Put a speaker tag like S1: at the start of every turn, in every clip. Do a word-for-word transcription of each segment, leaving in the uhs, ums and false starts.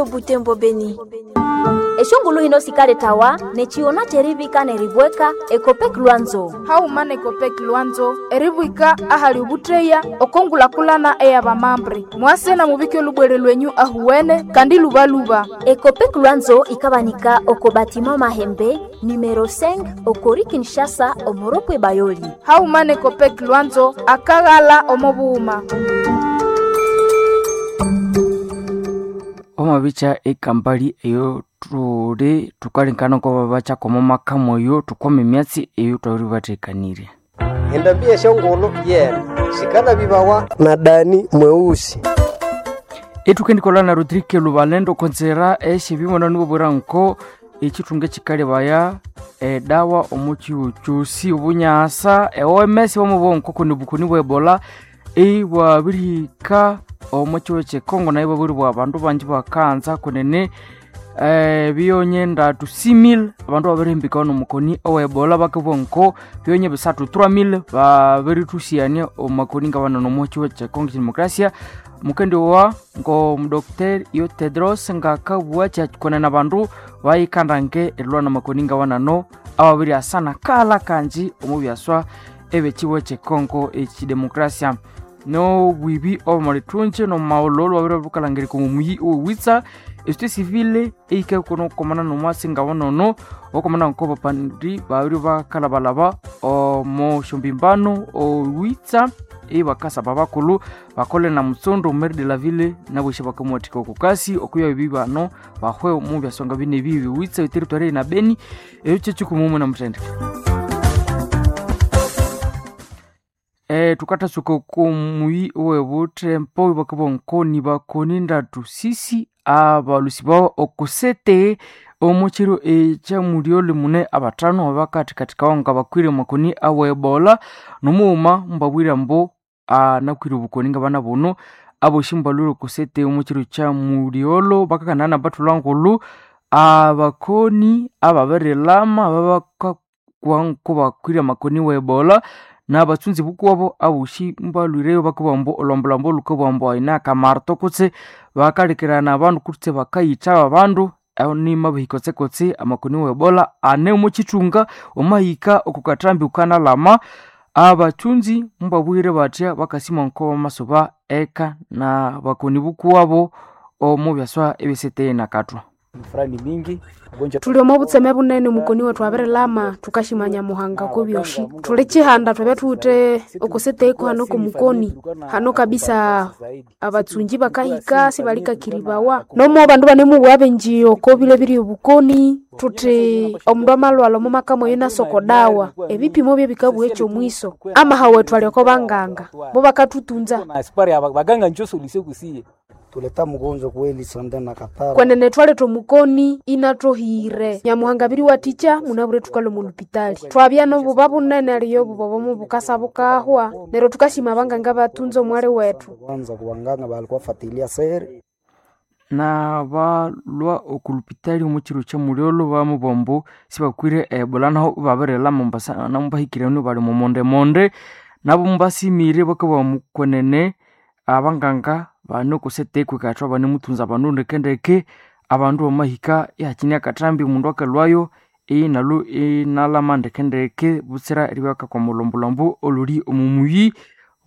S1: Butembo Beni.
S2: Eshongulu hino sikaletawa nechiona cherivika neribweka Ekopek Lwanzo.
S3: Hauma nekopek Lwanzo eribwika ahali ubutreya okongulakulana eyabamambre mwase na mubike lubwere lwenyu ahuwene kandi lubaluba.
S2: Ekopek Lwanzo ikabanika oko batima Mahembe numero cinq okori Kinshasa omoropwe Bayoli.
S3: Hauma nekopek Lwanzo akaghala omobuhuma.
S4: Omabica ekampali eyo tuli tukalengana ko komo maka moyo tukwama emyatsi eyo twabiri bathekanirye.
S5: Endambi esyongulhu yene sikanabibawa na Dani mweusi.
S4: Ethukendikolha na Rodrigue Lubalendo okonzera esyebimona nibabwira nko ekithunga ekikalebaya edawa omu kihugho kyosi obunyasa e O M S bamubugha nko kuni obukoni bwa Ebola ibwabirihika omu kihugho kye Congo nayo ibwabiribugha abandu bangi bakanza kunene biyonye ndatu six mille abandu babirihimbikawa nomukoni owa Ebola bakabugha nko biyonye bisathu three mille babirithusyania omakoni ngabanene omu kihugho kye Congo Demokrasia. Mukendi wa ngo Doctor yo Tedros ngakabugha kyakonene abandu bayikandange erilwa namakoni ngawanano awabiri asana kala kanji omu byaswa ebyekihugho kye Congo ekidemokrasia. Nobwibi obumulithunji nomumaghulhu babiri babikalhangirika omu muyi owewitsa esociété civile eyikakona okukomana nomwasi ngawonono okomana nko bapandi babiri bakalabalaba omo syombimbano owitsa ibakasaba abakulhu bakole na mutsundu maire de la ville nabwesya bakamuwathika okukasi okuya ebi bano bahwe omu byasonga bine ebi biwitsa eteritory na Beni ekyo kyekikumumu na muthendeke. E, tukatasuka okumuyi owebuthempo bakabugha nko nibakoni ndatu sisi abalusi bawo okusete omu kiro ekyamulyolyo mune abathanu abakathikathikawo nga bakwire amakoni awa Ebola nomughuma mubabwire ambu anakwire obukoni ngabana bunu abosi mubalhwire okusete omu kiro kyamulyolyo bakakana nabathulha ngulhu abakoni ababirilama ababakakwa nko bakwire amakoni wa Ebola nabatsunzi bukuwabo abosi mubalhwireyo bakabugha ambu olhwambolhwambo lhukabugha ambu ayina akamarto kutse bakalekerana abandu kutse bakayitha babandu nimabahika kotsekotse amakoni wa Ebola ane omu kithunga wamahika oko kathambi wukanalama abathunzi mubabwire bathya bakasima nko bamasuba eka nabakoni bukuwabo omu byaswa ebyesete nakathwa.
S6: Thuli omo butseme bunene omukoni wethu abirilama thukashimanya Muhanga kobyoshi. Thuli kihanda thwabya thuwithe okusete hano komukoni hano kabisa abatsungi bakahika sibalikakiribawa nomo abandu banemubugha abenji oko bilebirye obukoni thuthi omundu amalhwalha omo maka mweyo inasoko dawa ebipimo byebikabugha ekyomwiso amaha wethu ali oko banganga bo bakathutunza.
S7: Tuleta mgonjwa kweli sande na katara.
S6: Kwenene thwaletha omukoni inathohire Nyamuhanga abiriwathikya munabwire thukalhwa omo lupitali thwabya nobuba bunene aliyo obuba obo bukasa bukahwa neryo thukasima abanganga bathunza omwali wethu.
S7: Kwanza kubanganga balikuwa fatilia seri
S4: nabalhwa oku lupitali omu kiro kyamulyolyo bamubugha ambu sibakwire Ebola naho ibabirilama mubahikirenu bali omumondemonde nabo mubasimire bakabugha ambu kwenene abanganga bane okusete kwikathwa banemuthunza abandu ndekendeke abandu bamahika ihakine akathambi omundu akalhwayo inalhu inalama ndekendeke butsira eribya bakakwa omulhombolhombo olhuli omu muyi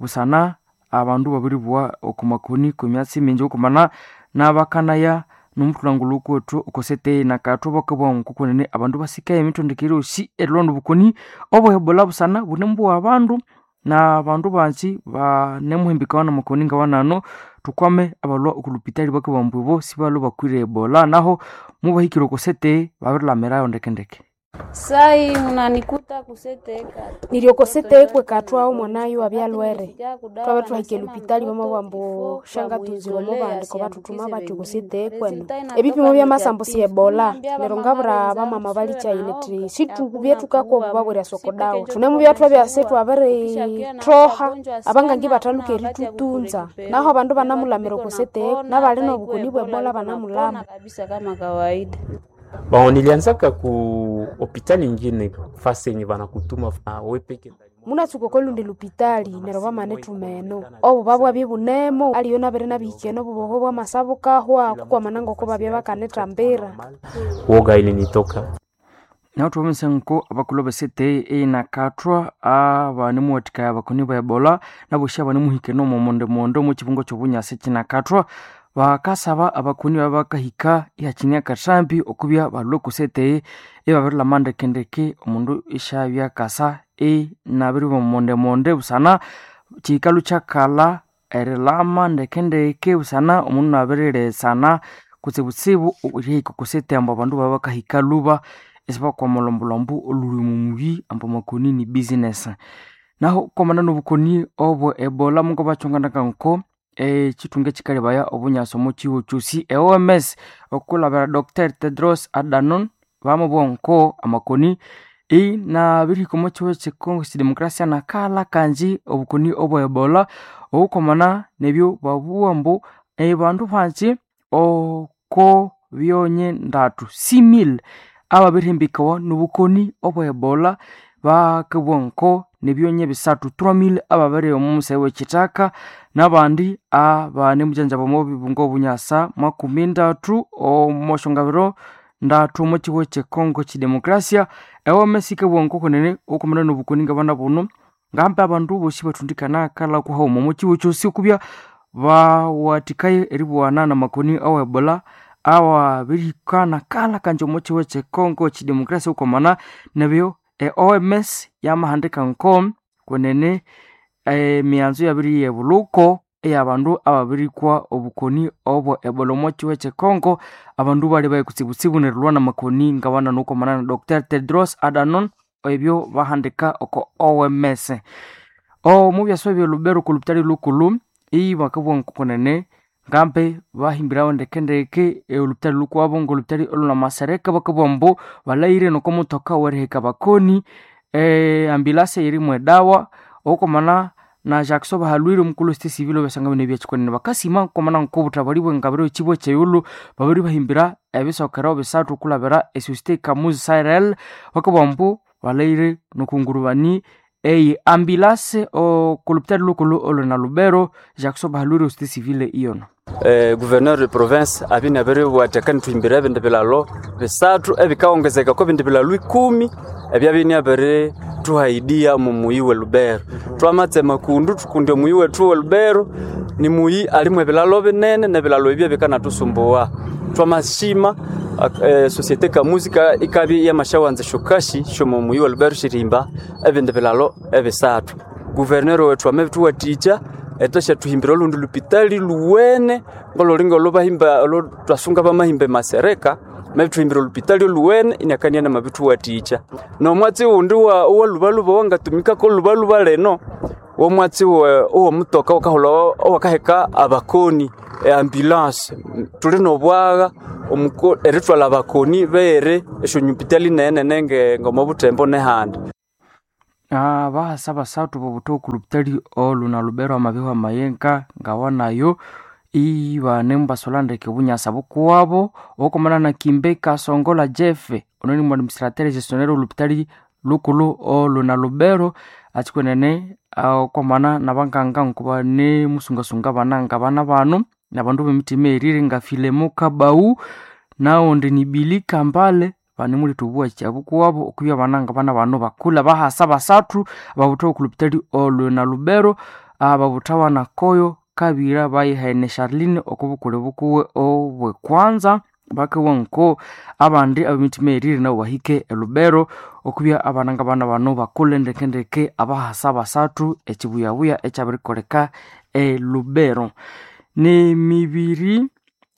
S4: busana abandu babiribugha oko makoni kwemyatsi mingi okumana nabakanaya nomuthulhangulhu kwethu okosete nakathwa bakabugha nko kwenene abandu basikaye emithondekere yosi erilhwa obukoni obwa Ebola busana bunemubugha abandu nabandu bangi banemuhimbikawa namakoni ngawanano thukwame abalhwa oku lupitali bakabugha ambu ibo sibalhwe bakwire Ebola naho mubahikire okosete babirilamirayo ndekendeke.
S8: Sai unanikuta kuseteka
S6: Niryo okosete kwekathwa omwanayu abyalhwere thwabya thwahika elupitali bamabugha ambu syangathunzirwa omo bandiko bathuthuma bathi okosete kwenu ebipimo byamasambu si Ebola neryo ngabwira abamama balikyayi nithi sithubye thukakwa obuba bwerya soko dawa thunemubya thwabya isithwabirithoha abangangi bathaluka erithutunza naho abandu banamulamira okosete nabali nobukoni bwe Ebola banamulama.
S8: Kabisa kama kawaida.
S9: Bon, nilianzaka ku hopitali ingine fasi yenye banakutuma we peke.
S6: Munatsuka okolundi lupitali neryo bamanithuma eno. Obuba bwabya ibunemo aliwe nabere nabihika eno obuboho bwamasa bukahwa kukwamana ngoko babya bakanithambira.
S1: Woga ilinitoka.
S4: Naho thwabonesa nko abakulhu besete einakathwa abanemuwathikaya abakoni ba Ebola nabosi abanemuhikene omo mondemonde omo kibungo kyobunyasi kinakathwa bakasaba abakoni baba bakahika ihakine akathambi okubya balhwe kusete ibabirilhama ndekendeke omundu isyabya akasa inabiribya omo mondemonde busana kikalhu kyakalha erilhama ndekendeke busana omundu inabirilesana kutsibutsibu erihika okusete ambu abandu baba bakahika lhuba isibakwama olhombolhombo olhuli omo muyi ambu amakoni ni business. Naho kwamana nobukoni obwe Ebola mungabakyonganaka nko ekithunga ekikalebaya obunyasi omo kihugho kyosi e O M S okulabira Doctor Tedros Adhanom bamubugha nko amakoni inabirihika omo kihugho kye Congo kidemokrasia nakalha kanji obukoni obwe Ebola obukwamana nebyo babugha ambu abandu banji oko byonye ndatu six mille ababirihambikawa nobukoni obwe Ebola bakabugha nko nebyonye bisathu three mille ababiri omo musayi wekithaka nabandi abanemugyanjaba omo bibungo obunyasa makumi ndathu omo syongabiro ndathu omo kihugho kye Congo kidemokrasia. E O M S yikabugha nko kwenene okwamana nobukoni ngabana buno ngambi abandu bosi bathundikana akalha kuhaghuma omo kihugho kyosi okubya bawathikaye eribughana namakoni awe Ebola awabirihika nakalha kanji omo kihugho kye Congo kidemokrasia okwamana nebyo e O M S yamahandika nko kwenene emighanzo iyabiriyebulhuko eyabandu ababirikwa obukoni obwe Ebola omo kihugho kye Congo abandu bali kutsibutsibu nerilhwa namakoni ngabana nokwamana na Doctor Tedros Adhanom ebyo bahandika oko O M S. Omu byasa ebye Lubero oko lupitali lukulhu ibakabugha nko kwenene ngambi bahimbirawo ndekendeke olupitali lukwabo ngolupitali olunamasereka bakabugha ambu balhaghire noko mutoka weriheka abakoni e ambulance eyirimu edawa okwamana na Jackson Bahalwire omukulhu we civil obyasanga bino ebyakikwenene bakasima okwamana nk'obuthabali bwengabiro ekibwa ekyeyilhu babiribahimbira ebisokero bisathu okulabira esociété Kamuzi Cyril bakabugha ambu balhaghire nokungurubani eyi ambulance okolupitali lukulhu olhuna Lubero. Jackson Bahalwire société civile iyono.
S9: Eh, gouverneur de province abine abiriwatheka nithuhimbira ebindi bilalo bisathu ebikawongezeka ko bindi bilalo ikumi ebyabine abirituhaidia omu muyi we Lubero. Twamatsema kundu tukundi omuyi wethu we Lubero ni muyi alimu ebilalo binene nebilalo ebyo bikanatusumbuwa. Twamashima eh, société Kamuzi ikabya yamashawanza shokashi shomo muyi we Lubero shirimba ebindi bilalo ebisathu. Gouverneur wethu amabituwathikya etashathuhimbira olundi lupitali luwene ngolulinga olubahimba olutwasunga bamahimba emasereka mabithuhimbira olupitali oluwene inakania namabithuwathikya. Nomwatsi wundi wa owalubaluba wangatumikako olubaluba leno womwatsi owomutoka wakaholha owakaheka abakoni eambulance tuli nobwagha erithwalha abakoni beghere esyonyupitali nenene ngomobuthembo nehandi.
S4: Abahasa basathu bobutha oku lupitali oluna Lubero amabihwa mayenga ngawanayo ibanemubasolha ndeke obunyasa bukuwabo okwamana na Kimbe Kasongola Jeff ono ni administrateur gestionnaire olupitali lukulhu oluna Lubero akikwenene okwamana nabanganga nkobanemusungasunga abana ngabana bano nabandu bemitima erire nga Filemo Kabau nawondi ni Billy Kambale banemuletha obuwakya bukuwabo okubya abana ngabana bano bakulha bahasa basathu ababutha oku lupitali oluna Lubero ababuthawa nakoyo kabira bayihene Charlene okubukule bukuwe obwekwanza bakabugha nko abandi abemitima erire nabo bahike elubero okubya abana ngabana bano bakulhe ndekendeke abahasa basathu ekibuyabuya ekyabirikoleka elubero. Nemibiri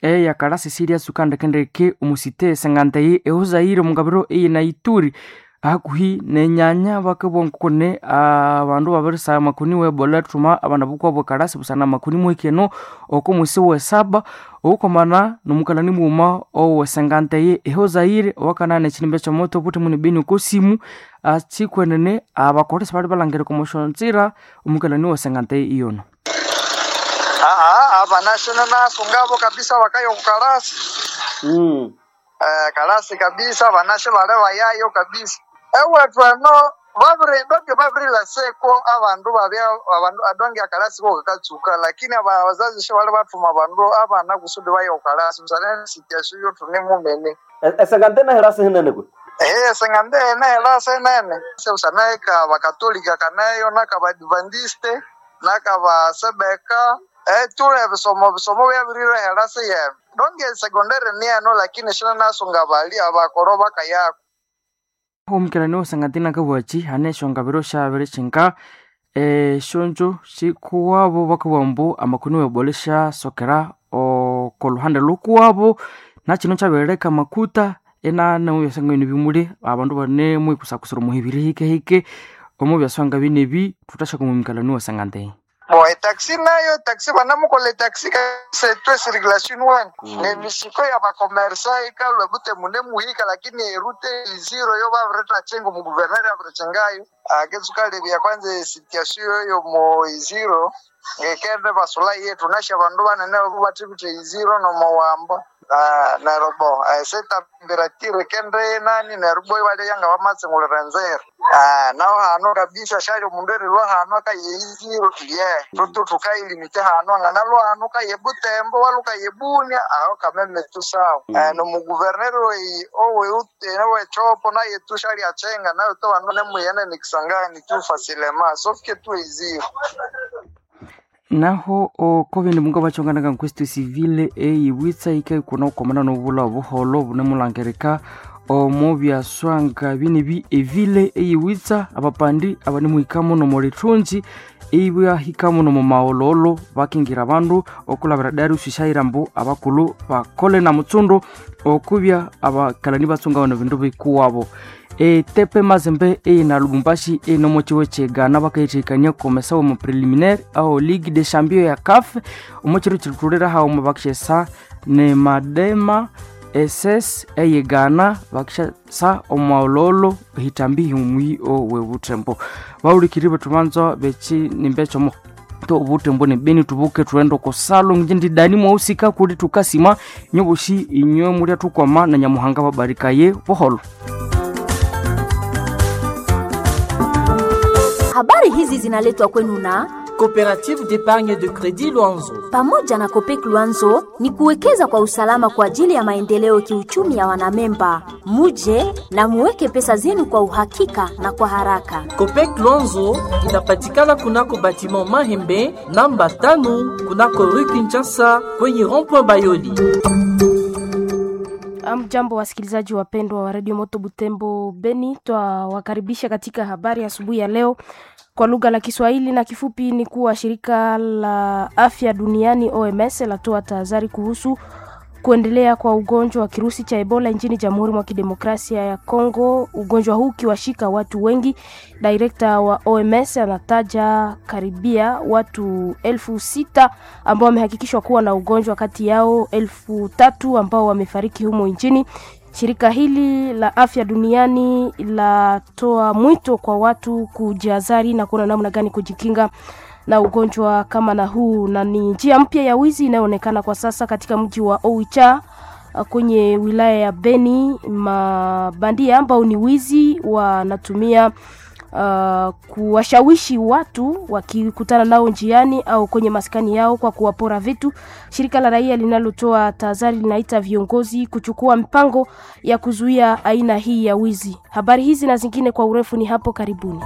S4: eyakalasi eryatsuka ndekendeke omusite senganteyi ehuzaire omungabiro eyina Ituri hakuhi nenyanya bakabugha nkokune abandu babirisagha amakoni we Ebola thuma abana bukwabo ekalasi busana amakoni muhikeno oko mwisi wesaba okwamana nomukalani mughuma owesenganteyi ehuzaire owakanana ekirimba ekyomoto obuthi muni beni okosimu akikwenene abakolesi bali balhangira okomosyonzira omukalani owesenganteyi iyono.
S10: Aa abanashona nasungabo kabisa bakayo kukalasi
S9: Mm.
S10: eh, kalasi kabisa banashe bale bayayo kabisa ewethu eno Babiri donge babirilhaseko abandu babya abandu adonge akalasi ko kakatsuka lakini abazazi shibali bathuma abandu abana kusudi baye okalasi busana situation yo thune mumene.
S11: Esengandena herasi hinene kwe.
S10: Eh, sengandena herasi nene. Busana eka bakatolika kanayo nakabadventiste nakabasebeka eh tule bisomo bisomo byabirire herasi yene. Donge sekondari nieno lakini shina nasunga bali abakoro bakayako.
S4: Omukerani osangatina kabwachi hane eshongabiro syabiri kyinka esyonjo sikuwabo bakabugha ambu amakoni webole syasokera okoluhande lhukuwabo nakino kyabirileka amakuta inane mubyaswanga bino bimuli abandu bane mwikusakusira omuhibiri hikehike omu byaswanga bino ebi thuthasyaku omumikalani wasangante.
S10: Bo etaxi nayo taxi banamukola etaxi setwe circulation one nemisiko ya bakomersa ikalwe bute mune muhika lakini erute zero yo babireta chengo mu guverneri abirechengayo aketsukalebya kwanza situation yo mo zero ngekende basula yetu nasha bandu banene bathibithe iziro nomowamba Ah, neryo bo setambira kende nani neryo bo ibalya yanga bamatsingulira nzira. Ah, naho hano kabisa shali omundu erilwa hano akaye iziro ye tutu tukailimite hano anganalwa hano kaye Butembo waluka ye Bunia aho kameme tusawa. Eh, nomuguverneri owe owechopo naye tu shali achenga nayo to bandu nemuyene nikisangani tu fasilema sofike tu iziro.
S4: Naho okobindi munga bachonganaga nkwesitu civile eyiwitsa ika ikuna okwamana nobula obuholo bunemulangirika omu byaswanga binibi evile eyiwitsa abapandi abanemuhikamo nomulithunzi ibwahikamo nomumawololo bakingira abandu okulabira darius shaira mbu abakulhu bakole na mutsundu okubya abakalani batsunga bano bindu bikuwabo. Etepe Mazembe eyina Lubumbashi enomo chiwe chegana bakayithikania komesa omu preliminaire ao Ligue des Champions ya CAF omo chiro chirithulira hauma bakishesa ne Madema S S eyegana bakishesa omuololo hitambi himwi owe butembo baulikiri bethubanza bechi nimbechomo to obutembo nebeni tubuke tuende okosalo nje ndidani mwausika kuli tukasima nyoboshi inywe mulya tukwama na nyamuhanga babarikaye buholo.
S2: Habari hizi zinaletwa kwenu na
S12: Coopérative d'épargne de crédit Luanzo.
S2: Pamoja na Copec Luanzo ni kuwekeza kwa usalama kwa ajili ya maendeleo kiuchumi ya wanamemba. Muje na muweke pesa zenu kwa uhakika na kwa haraka.
S12: Copec Luanzo inapatikana kunako batiment Mahembe namba tano kunako Rue Kinshasa kwenye rond-point Bayoli.
S6: Amjambo, wasikilizaji wapendwa wa Radio Moto Butembo Beni, twawakaribisha katika habari asubuhi ya leo kwa lugha la Kiswahili na kifupi ni kuwa shirika la afya duniani O M S latoa tahadhari kuhusu kuendelea kwa ugonjwa wa kirusi cha Ebola nchini Jamhuri mwa Kidemokrasia ya Kongo, ugonjwa huu ukiwashika watu wengi. Direkta wa O M S anataja karibia watu elfu sita ambao wamehakikishwa kuwa na ugonjwa, kati yao elfu tatu ambao wamefariki humo nchini. Shirika hili la afya duniani latoa mwito kwa watu kujihadhari na kuona namna gani kujikinga na ugonjwa kama na huu, na ni njia mpya ya wizi inayoonekana kwa sasa katika mji wa Oicha kwenye wilaya ya Beni. Mabandia ambao ni wizi wanatumia uh, kuwashawishi watu wakikutana nao njiani au kwenye maskani yao kwa kuwapora vitu. Shirika la raia linalotoa tahadhari linaita viongozi kuchukua mpango ya kuzuia aina hii ya wizi. Habari hizi na zingine kwa urefu ni hapo karibuni.